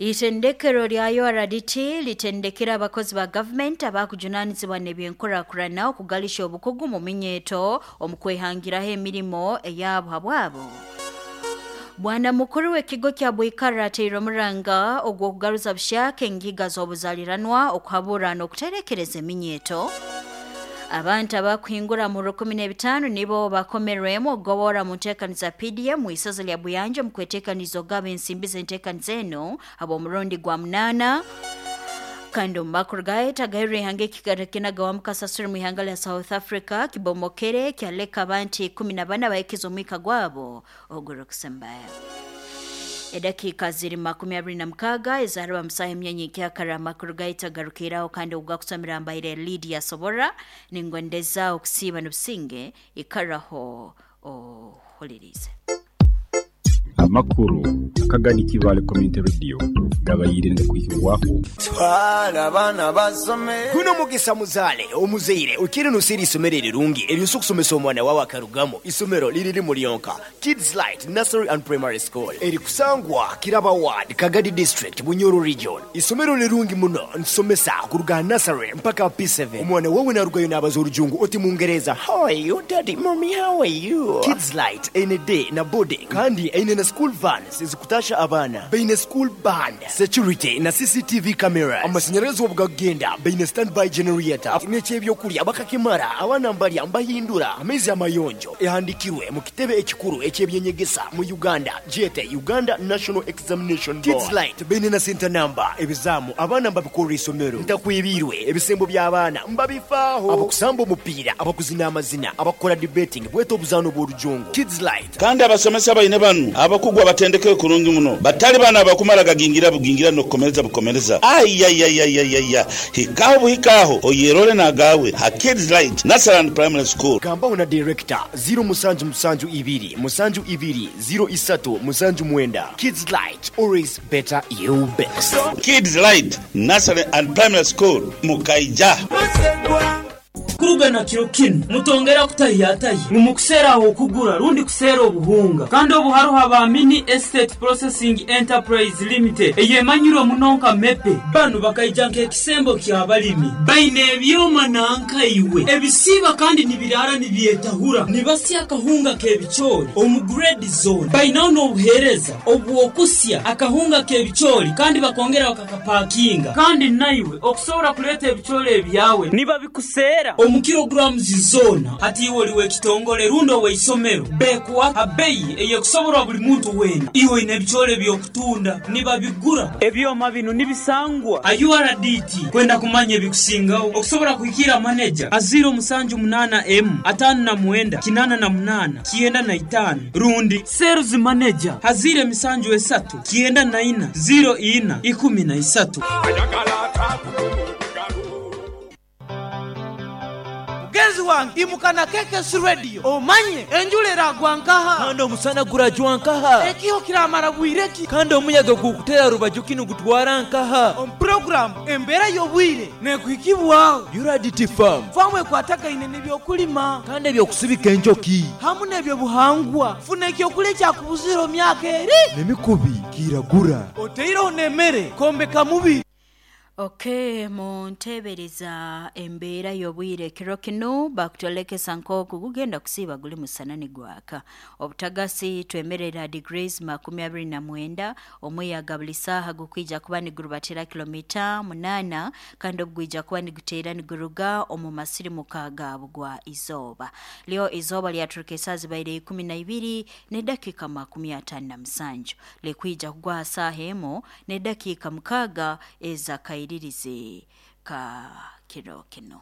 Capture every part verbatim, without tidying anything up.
Itendekero lya U R D T litendekera abakozi ba government abakujunanizibwa n'ebyenkurakurana okugalisha obukugu mu minyeto omukwehangiraho emirimo eyabo habwabo. Bwana mukuru w'ekigo kya Bwikara ateire omuranga ogw'okugaruza bushaka engiga z'obuzaliranwa okuhabura n'okuterekereza eminyeto. Abantu abakuhingura mu rukumi n'ebitaano nibo bakomerwemu okugobora mu nteekaniza P D M mu isaza lya Buyanja mu kweteekaniza ogaba ensimbi z'enteekaniza eno ab'omurundi gwa munaana. Kandi omu makuru gaeta gairwe ihanga ekikarakinaga mukasasuri mu ihanga lya South Africa kibomokere kyaleka abantu ikumi na bana bayikiza omwika gwabo ogurikusembayo. Edakika ziri makumi abiri na mukaga ezaraba musaha emyanya ekyakara amakuru gaita garukiraho kandi ogakusomera mbaire Lydia Sobora ningondeza okusiiba n'obusinge ikaraho ohulirize. Amakuru akagani Kibale Community Radio gabayirinde kuhibwaho twala abana basome kuno mugisa muzale omuzeire ukiri nusiri isomero rirungi eryo kusomesa omwana wawe akarugamo isomero liriri mulionka Kids Light Nursery and Primary School eri kusangwa Kiraba Ward Kagadi District Bunyoro Region. Isomero lirungi muno nsomesa kuruga nursery mpaka P seven. Omwana wawe narugayo nabaza orujungu oti mungereza how are you daddy mommy how are you. Kids Light N D na boarding kandi eine na school vans zikutasha abana baine school band security na C C T V cameras amashanyarazi obugagenda baine standby generator n'ekyebyokulya bakakimara abana mbalya mbahindura amaizi amayonjo ehandikirwe mu kitebe ekikuru ekyebyenyegesa mu Uganda jete Uganda National Examination Board. Kids Light baine na center number ebizamu abana mbabikora isomero ntakwibirwe ebisembo by'abaana mbabifaaho abakusamba omupiira abakuzina amazina abakora debating bweto obuzano bw'orujungu Kids Light. Kandi abasomesa baine banu abakugwa batendeke kurungi muno batali bana abakumara gagingira bugingira no kukomereza bukomereza ayayayayaya hikaho buhikaho oyerole nagawe ha Kids Light Nursery and Primary School. Gamba na director zero musanju musanju ibiri musanju ibiri zero isatu musanju mwenda. Kids Light, always better you best. Kids Light Nursery and Primary School Mukaija. Kuruga na kiro kinu mutongera kutayatayi mumukusera okugura rundi kusera obuhunga kandi obuharuha ba Mini Estate Processing Enterprise Limited eyemanyiro munonka mepe banu bakaija nk'ekisembo ky'abalimi baine ebyoma nanka iwe ebisiba kandi nibirara nibyetahura nibasya akahunga k'ebichori omu grade zone bainaho n'obuhereza obwokusya akahunga k'ebichori kandi bakongera bakakapakinga kandi naiwe okusobora kuleta ebichori ebyawe niba bikusera omu kilograms zona hati iwe oliwe kitongole rundo weisomero bekuwa abeyi eyekusoborwa buli muntu wena iwe ine ebichore byokutunda nibabigura ebyoma bino nibisangwa a U R D T kwenda kumanya ebikusingaho okusobora kuhikira manager aziro musanju munana m atano na mwenda kinana na munana kienda na itano rundi sales manager hazire misanju esatu kienda na ina zero ina ikumi na isatu. Mugenzi wange imukana K K S Radio omanye enjulera gwankaha kandi omusana gurajwa nkaha ekiho kiramara bwireki kandi omuyaga gukutera rubaju kinu gutwara nkaha on program embera yobwire nekuhikibwaho U R D T farm famu ekwatagaine n'ebyokulima kandi ebyokusibika enjoki hamu n'ebyobuhangwa funa ekyokulya kyakubuzira myaka eri nemikubi kiragura oteireho n'emmere kombeka mubi. Okay, muntebereza embeera y'obwire kiro kino bakutolekesa nk'oku gugenda kusiiba guli musana nigwaka obutagasi twemerera degrees makumi abiri na mwenda omuyaga buli saaha gukwija kuba nigurubatira kilomita munana kandi obugwija kuba niguteera niguruga omu masirimuka ga bugwa izooba. Leo izooba lyaturuka esaaha zibaire ikumi na ibiri n'edakiika makumi ataano na musanju likwija kugwa saaha emu n'edakiika mukaaga ezakaire iririze ka kiro kino.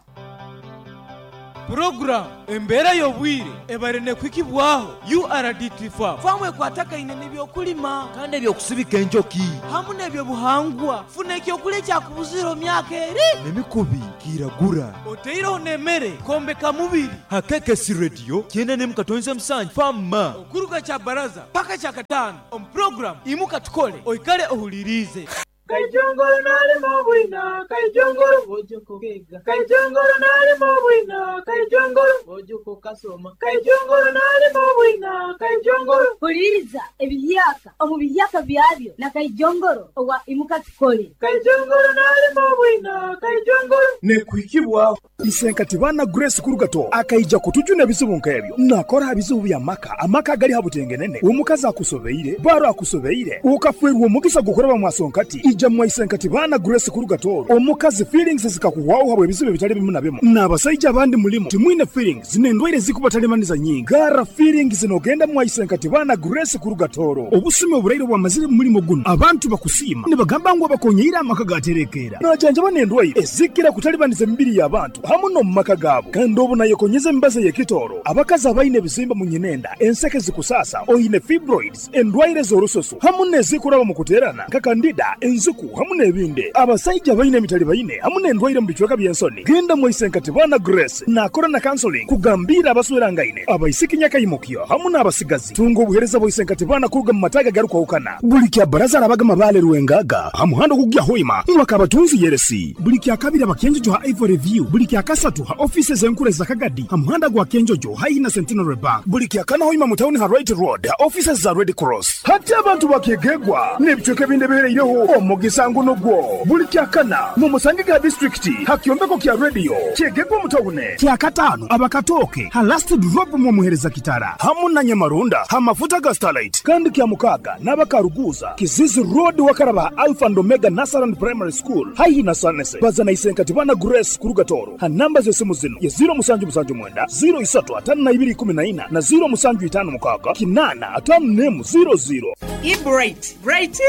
Program embera y'obwire ebare nekwikibwaho U R D T farm famu ekwatagaine n'ebyokulima kandi ebyokusibika enjoki hamu n'ebyobuhangwa funa ekyokulya kyakubuzira myaka eri nemikubi kiragura oteireho n'emmere kombeka mubiri ha K K S Radio kyenda nemu katonze musanju fama okuruga kya baraza paka kya katano omu program imuka tukole oikale ohulirize. Kaijongoro nalima bwina, kaijongoro ojoko kega. Kaijongoro nalima bwina, kaijongoro ojoko kasoma. Kaijongoro nalima bwina, kaijongoro. Huliriza ebiyaka omu biyaka byabyo na kaijongoro owa imuka tukole. Kaijongoro nalima bwina, kaijongoro. Nekuhikibwa Isenkatibana Grace Kurugato akaija kutujuna ebizibu nkebyo nakora bizibu bya maka amaka gali habutengenene omukazi akusobeire baro akusobeire ukafwerwa omugisa gukoraba mwasonkati ija mwa Isenkatibana Grace Kurugato omukazi feelings zikakuwaho habwe ebizibu bitali bimu na bimu n'abasajja abandi mulimo timwine feelings nendwaire zikubatalemaniza nyingi gara feelings nogenda mwa Isenkatibana Grace Kurugatoro obusumi oburaire bwamazire mulimo guno abantu bakusima nibagamba ngo abakonyeira amaka gaterekera najanja banendwaire ezikira kutalibaniza emibiri y'abantu hamu no mumaka gabo kandi obu nayekonyeza embaza y'ekitoro abakazi abaine ebizimba mu nyinenda enseke zikusasa oine fibroids endwaire z'orusoso hamu nezikuraba mu kuterana nka kandida enzuku hamu n'ebindi abasajja baine emitali baine hamu n'endwaire mu bicweka by'ensoni genda mu Isenkatibana Grace nakora na counseling kugambira abaswerangaine abaisiki nyakayimukyo hamu n'abasigazi tunga obuhereza bwa Isenkatibana kuruga mu mataga garukwahukana buli kya baraza arabagama bale rwengaga hamuhando kugya hoima mwakabatunzi yeresi buli kya kabiri abakenjojo ha Ivory View buli kya kasatu ha offices enkure za Kagadi ha muhanda gwa Kenjojo hayi na Centenary Bank buli kya kana hoima mu town ha Right Road ha offices za Red Cross hati abantu bakegegwa n'ebicweka ebindi bihereireho omugisa nguno gwo buli kya kana mu Musangiga district ha kyombeko kya radio kyegegwa mu town kya katano abakatoke ha last drop mu muhereza kitara hamu na Nyamarunda ha mafuta ga Starlight kandi kya mukaga n'abakaruguza Kizizi Road wakaraba Alpha and Omega Nasaran Primary School hayi na Sanese bazana Isenkatibana Grace Kurugatoro ha namba z'esimu zino ye zero musanju musanju mwenda zero isatu atano na ibiri kumi na ina na zero musanju itano mukaga kinana atano nemu zero zero. I bright bright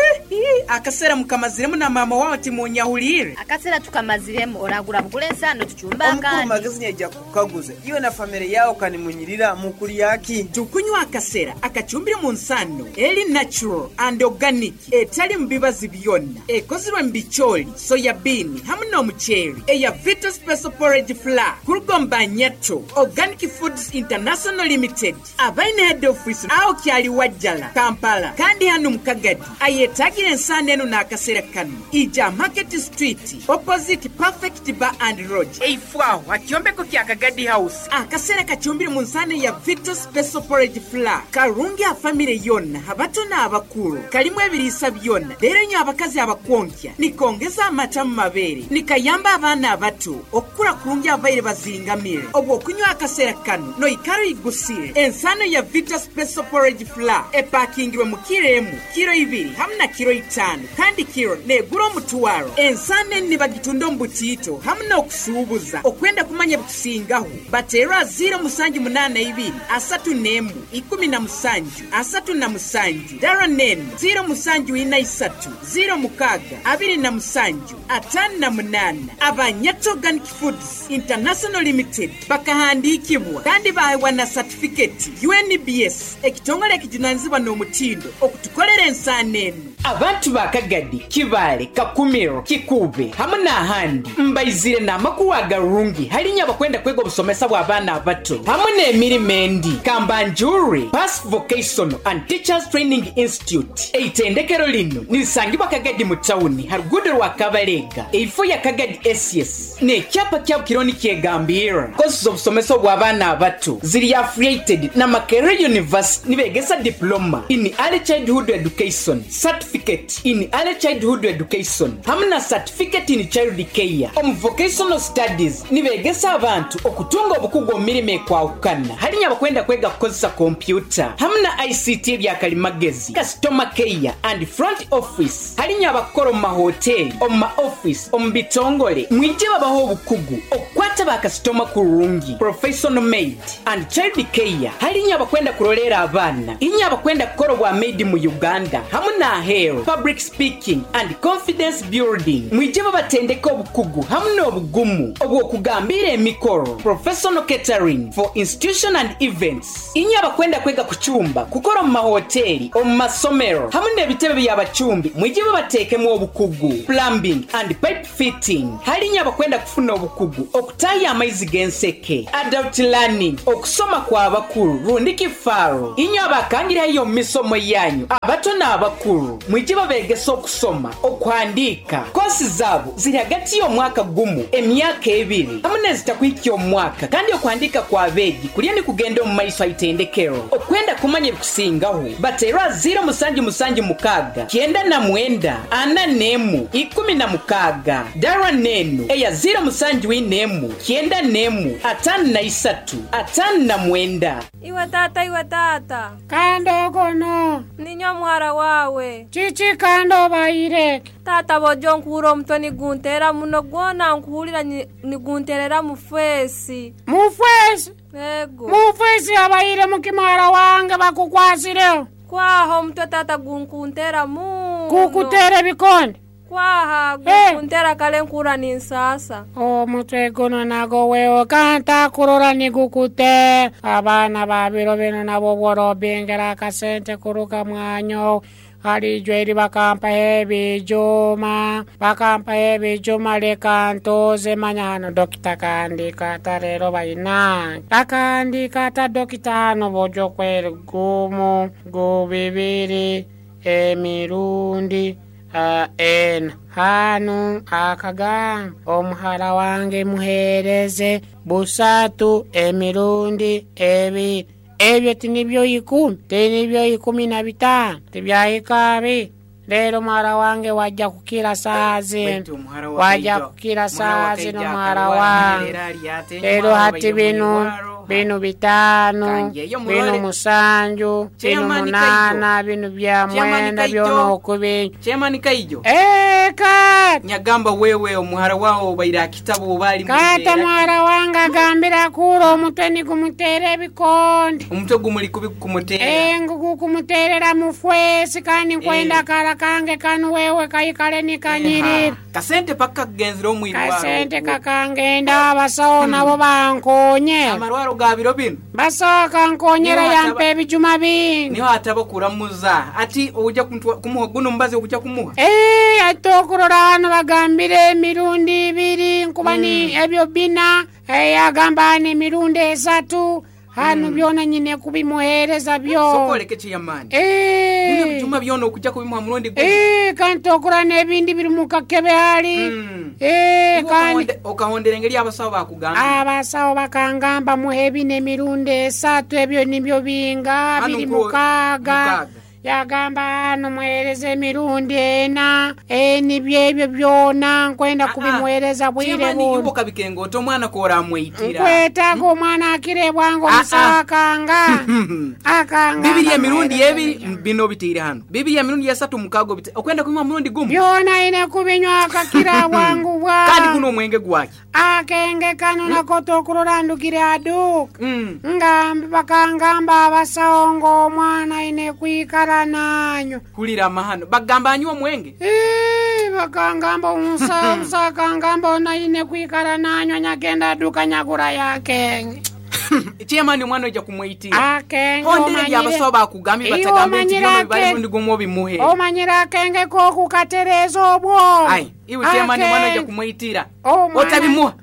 akasera mukamaziremu na mama wao timunyahulire akasera tukamaziremu oragura bugule ensano tuchumba omukuru akandi magezi nyaija kukaguza iwe na family yao kanimunyirira mukuli yaki tukunywa akasera akachumbire mu nsano eri natural and organic etali mu bibazi byonna ekozirwe mu bicholi soya bean hamu n'omuceeri eya Vita Special Porridge Flour kurugomba Nyato Organic Foods International Limited abaine head office aho kyali Wajjala Kampala kandi hano mukagadi ayetagira ensano eno n'akasera kano ija Market Street opposite Perfect Bar and Lodge eifwaho akyombeko kya Kagadi House akasera kachumbire mu nsano ya Vita Special Porridge Flour karungi a family yonna abato n'abakulu kalimu ebiriisa byonna leero nnyo abakazi abakwonkya nikongeza amata mu mabeere nikayamba abaana abato okukula kulungi abaire bazingamire obwo okunywa akasera kano noikaro igusire ensano ya Vita Special Porridge Flour epakingirwe mu kiro emu kiro ibiri hamu na kiro itano kandi kiro negura omutwaro ensano eni nibagitunda omu butiito hamu n'okusuubuza okwenda kumanya bikusingaho bateerwa ziro musanju munaana ibiri asatu n'emu ikumi na musanju asatu na musanju dara nenu ziro musanju ina isatu ziro mukaga abiri na musanju atano na munaana Abanyato Organic Foods International Limited bakahandikibwa kandi baheebwa na certificate U N B S ekitongole ekijunanizibwa n'omutindo okutukolera ensaano eno abantu ba Kagadi Kibale Kakumiro Kikube hamu n'ahandi mbaizire n'amakulu agarungi halinya abakwenda kwega obusomesa bw'abaana abato hamu n'emirimo endi Kambanjuri Pass Vocational and Teachers Training Institute eitendekero lino nilisangibwa Kagadi mu tawuni ha ruguudo rwa Kabalega eifo ya Kagadi S S n'ekyapa kyabo kironi kyegambira kosi z'obusomesa bw'abaana abato ziri affiliated na Makerere University nibegesa diploma in early childhood education certificate in early childhood education hamu na certificate in child care omu vocational studies nibegesa abantu okutunga obukugu omu mirimo ekwahukana halinya abakwenda kwega kukozesa kompyuta hamu na I C T ebyakalimagezi customer care and front office halinya abakora omu mahoteli omu ma office omu bitongole mwije babaho obukugu okukwata bakasitoma kurungi professional maid and child care halinya abakwenda kurolera abaana inya abakwenda kukora obwa maid mu Uganda hamu na ahero public speaking and confidence building mwije babatendeka obukugu hamu n'obugumu obw'okugambira emikoro professional catering for institution and events inya abakwenda kwega kuchumba kukora omu mahoteli omu masomero hamu n'ebitebe by'abachumbi mwije babateekemu obukugu plumbing and pipe fitting halinya abakwenda kufuna obukugu okutaya amaizi g'enseke adult learning okusoma kw'abakulu rundi kifaaro inyo abakangirayo mu misomo yanyu Abato n'abakulu mwije babegesa okusoma, okuhandiika. Kosi zaabo ziri hagati y'omwaka gumu, emyaka ebiri hamu n'ezitakuhikya omwaka, kandi okuhandiika kw'abeegi kulya ni kugenda omu maiso aitendekero. Okwenda kumanya ebikusingaho bateerwa ziro musanju musanju mukaaga kyenda na mwenda ana n'emu ikumi na mukaaga dara n'enu eya ziro musanju ina emu kyenda n'emu ataano na isatu ataano na mwenda. Iwe tata, iwe tata. Kando kono. Ninyo muhara wawe. Chichi kando baire. Tata bojo nkuhura omutwe niguntera muno gwona nkuhurira nigunterera mufesi. Mufesi? Ego. Mufesi abaire mukimara wange bakukwasireho. Kwaho omutwe tata gunkuntera muno. Kukutera bikonde. Kwaha gukuntera kale nkura ninsasa. Omutwe guno nago wewe kanta kurora nigukute. Abaana babiro bino nabo bworobingera akasente kuruka mwanyo. Halijwe eri bakampa ebijuma, bakampa ebijuma leka ntoze manya hano dokita kandika ata rero bayina. Akandika ata dokita hano bojo kweri gumu, gubibiri, emirundi. Uh, en hanu akagamba omuhara wange muhereze busatu emirundi ebiri. Ebyo tinibyo ikumi, tinibyo ikumi na bitano, tibyahika Lero muhara wange wajja kukira saa zino, wajja kukira saa zino muhara wange. Lero hati binu binu bitano, binu musanju, binu munana, binu bya mwenda byona okubi. Chairman Kaijo. Eh, kat. Nyagamba wewe omuhara wao baira kitabu bali Kata muhara wange agambira kuro omutwe nigumutere ebikonde. Omutwe gumuli kubi kumutera. Eh, ngugu kumuterera mufwesi kandi nkwenda kara kange kanu wewe kaikale nikanyirira. Kasente paka kugenzera omwirwaro. Kasente kakangenda abasawo nabo bankonye. Amarwaro ga biro bino. Basawo kankonyera yampa ebijuma bingi. Niho ataba kuramuza ati ojja kumuha guno mbaze okujja kumuha. Eh, ate okurora hano bagambire emirundi ibiri nkuba ni ebyo bina. Eh, agamba ni emirundi esatu. Hano mm. byona nyine kubimuhereza byo. Sokoleke chiyamani. Eh. Bino bijuma byona okujja kubimuha murundi gwe. Eh, kanti okura n'ebindi biri mu kakebe hali. Mm. Eh, kandi okahondera engeri abasawo bakugamba. Abasawo bakangamba muhe bino emirundi esatu ebyo nibyo binga biri mukaaga. Yagamba hano muhereze emirundi ena, eh nibyo ebyo byona nkwenda kubimuhereza bwire buno. Chiyamani yuko kabikengo oto omwana kora amweyitira. Nkwetaaga omwana akire bwangu omusawo akanga. Akanga. Bibiri emirundi ebiri bino bitiire hano. Bibiri emirundi esatu mukaaga obite. Okwenda kubimuha murundi gumu. Byona ine kubinywa akakira bwangu bwa. Kandi guno omwenge gwaki. Akenge kano nako tokurora ndukire aduka. Ngambi bakangamba abasawo ng'omwana ine kwikara nanyo. Kulira amahano. Bagamba anywa omwenge? Eh, bakangamba omusawo akangamba ona ine kwikara nanyo nyagenda aduka nyagura yakenge. Chairman omwana ojja kumweyitira. Akenge omanyire. Abasawo bakugambye batagambe nti byona bibali murundi gumu obimuhe. Omanyire akenge k'okukatereeza obwo. Ai, iwe chairman omwana ojja kumweyitira. Otabimuha.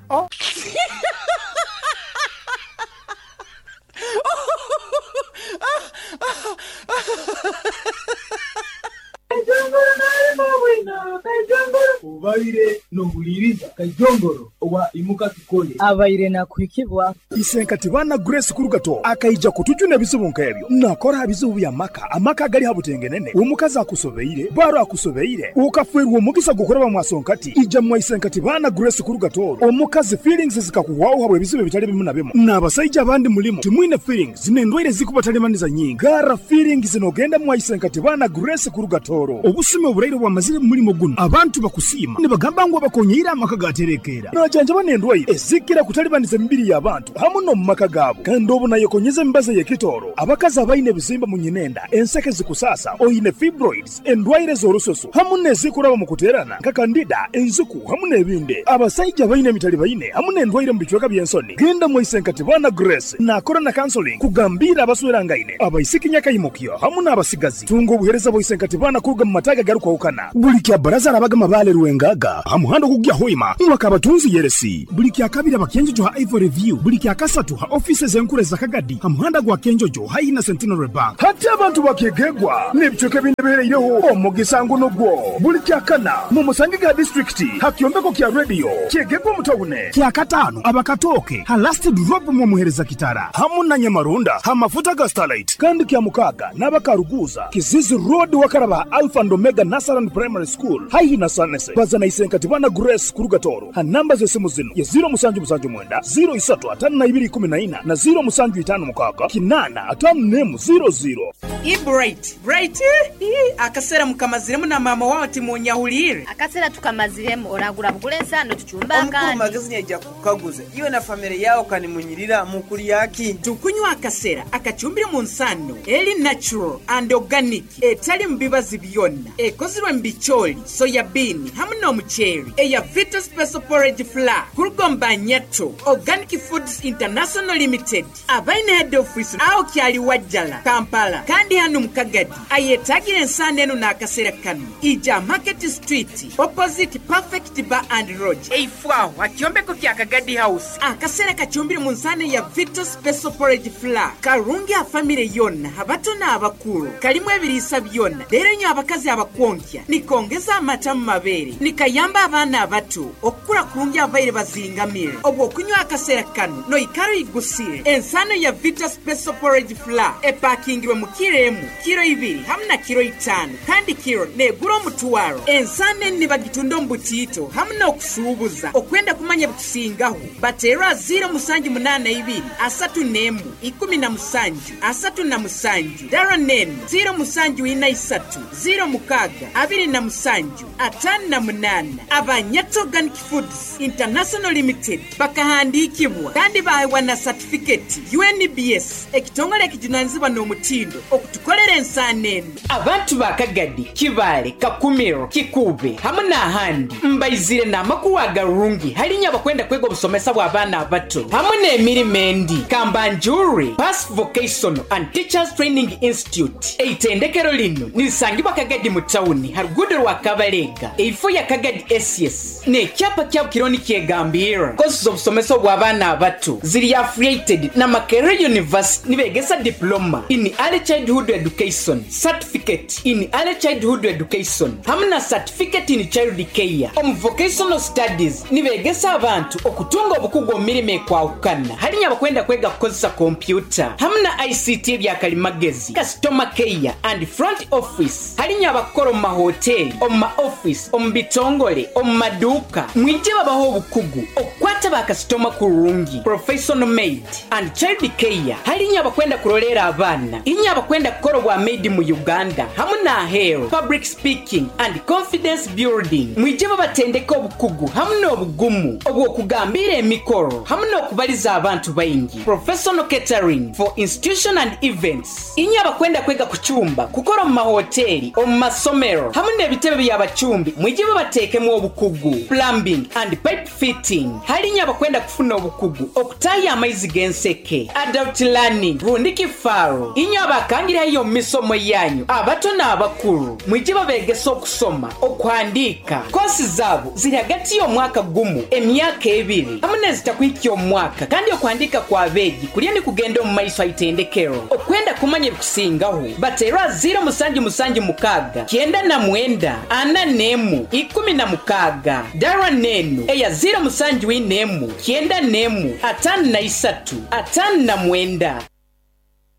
Kaijongoro nalimo bwina, kaijongoro. Ubaire nohuliriza kaijongoro owa imuka tukole. Abaire na kuhikibwa. Isenkati bana Grace Kurugato akaija kutujuna ebizibu nk'ebyo. Nakora ebizibu bya maka, amaka gali habutengenene. Omukazi akusobeire, baro akusobeire. Ukafwerwa omugisa gukoraba mwasonkati. Ija mwa isenkati bana Grace Kurugato. Omukazi feelings zikakuwaho habwe ebizibu bitali bimu na bimu. N'abasajja abandi mulimo timwine feelings n'endwaire zikubatalibaniza nyingi. Gara feelings nogenda mwa isenkati bana Grace Kurugatoro. Obusime obulaire bwamazire mu mulimo guno. Abantu bakusiima nibagamba ngu abakonyeire amaka gaterekeera. Najanjaba n'endwaire ezikira kutalibaniza emibiri y'abantu hamu n'omu maka gaabo. Kandi obu nayekonyeza emibazi ey'ekitooro. Abakazi abaine ebizimba mu nyinenda, enseke zikusasa, oine fibroids, endwaire z'orususu hamu n'ezikuraba mu kuteerana nka kandida, enziku hamu n'ebindi. Abasajja abaine emitali baine hamu n'endwaire mu bicweka by'ensoni. Genda mu Isenkati bana Grace nakora na counseling kugambira abaswerangaine, abaisiki nyakayimukyo hamu n'abasigazi. Tunga obuhereza bwa Isenkati bana kuruga mu mataga garukwawukana. Buli kya baraza arabaga mabale Rwengaga ha muhanda gugya Hoima mwakabatunzi yeresi. Buli kya kabiri abakenjojo ha Ivory View, buli kya kasatu ha offices enkure za Kagadi ha muhanda gwa Kenjojo hayi na Centenary Bank. Hati abantu bakegegwa n'ebicweka binebeereireho omugisa nguno gwo. Buli kya kana mu Musangiga district ha kyombeko kya radio kyegegwa mutawune. Kya katano abakatoke ha last drop mu muhereza kitara hamu na Nyamarunda ha mafuta ga Starlight. Kandi kya mukaga n'abakaruguza Kizizi Road wakaraba Alpha and Omega Nasaran Primary School haihi na Sanese. Bazana isenkati bana Grace Kurugatoro ha namba z'esimu zino ya zero musanju musanju mwenda zero isatu atano na ibiri kumi na ina na zero musanju itano mukaka kinana atano nemu zero zero. I bright bright akasera mukamaziremu na mama wao timunyahulire akasera tukamaziremu oragura bugule ensano tuchumba Omukuru akandi magezi yaija kukaguza iwe na familia yao kanimunyirira mukuli yaki. Tukunywa akasera akachumbire mu nsano eri natural and organic etali mu bibazi byonna ekozirwe mu bicholi soya bean hamu n'omuceeri eya Vita Special Porridge Flour kurugomba Nyato Organic Foods International Limited abaine head office aho kyali Wajjala Kampala kandi hano mu Kagadi ayetagira ensano eno n'akasera kano ija Market Street opposite Perfect Bar and Lodge eifwaho akyombeko kya Kagadi House. Akasera kachumbire mu nsano ya Vita Special Porridge Flour karungi a family yonna abato n'abakulu kalimu ebiriisa byonna leero nnyo abakazi abakwonkya nikongeza amata mu mabeere nikayamba abaana abato okukula kulungi abaire bazingamire obwo okunywa akaseera kano noikaro igusire ensano ya Vita Special Porridge Flour epakingirwe mu kiro emu kiro ibiri hamu na kiro itaano kandi kiro negura omutwaro. Ensano eni nibagitunda omu butiito hamu n'okusuubuza okwenda kumanya bikusingaho bateerwa ziro musanju munaana ibiri asatu n'emu ikumi na musanju asatu na musanju dara nenu ziro musanju ina isatu ziro mukaga abiri na musanju atano na munana. Abanyato Organic Foods International Limited bakahandikibwa kandi bahewa na certificate U N B S ekitongole ekijunanizibwa n'omutindo okutukolera ensaano eno. Abantu ba Kagadi, Kibaale, Kakumiro, Kikube hamu n'ahandi mbaizire n'amakulu agarungi halinya abakwenda kwega obusomesa bw'abaana abato hamu n'emirimo endi. Kambanjuri Pass Vocational and Teachers Training Institute eitendekero lino nilisangibwa Kagadi mu tawuni ha ruguudo rwa Kabalega eifo ya Kagadi S S n'ekyapa kyabo kironi kyegambira kosi z'obusomesa obw'abaana abato ziri affiliated na Makerere University nibegesa diploma in early childhood education, certificate in early childhood education hamu na certificate in child care. Omu vocational studies nibegesa abantu okutunga obukugu omu mirimo ekwahukana halinya abakwenda kwega kukozesa kompyuta hamu na I C T ebyakalimagezi, customer care and front office halinya abakora omu mahoteli, omu ma office, omu bitongole, omu maduuka mwije babaho obukugu okukwata bakasitoma kurungi, professional maid and child care halinya abakwenda kurolera abaana inya abakwenda kukora obwa maid mu Uganda hamu n'aheeru, public speaking and confidence building mwije babatendeka obukugu hamu n'obugumu obw'okugambira emikoro hamu n'okubaliza abantu baingi, professional catering for institution and events inya abakwenda kwega kuchumba kukora omu mahoteli, omu masomero hamu n'ebitebe by'abachumbi mwije babateekemu obukugu, plumbing and pipe fitting halinya abakwenda kufuna obukugu okutaya amaizi g'enseke, adult learning rundi kifaaro inya abakangirayo omu misomo yanyu abato n'abakulu mwije babegesa okusoma okuhandiika. Kosi zaabo ziri hagati y'omwaka gumu emyaka ebiri hamu n'ezitakuhikya omwaka kandi okuhandiika kw'abeegi kulya nikugenda omu maiso aitendekero. Okwenda kumanya ebikusingaho bateerwa ziro musanju musanju mukaaga kyenda na mwenda ana n'emu ikumi na mukaaga dara nenu eya ziro musanju ina emu kyenda n'emu atano na isatu atano na mwenda.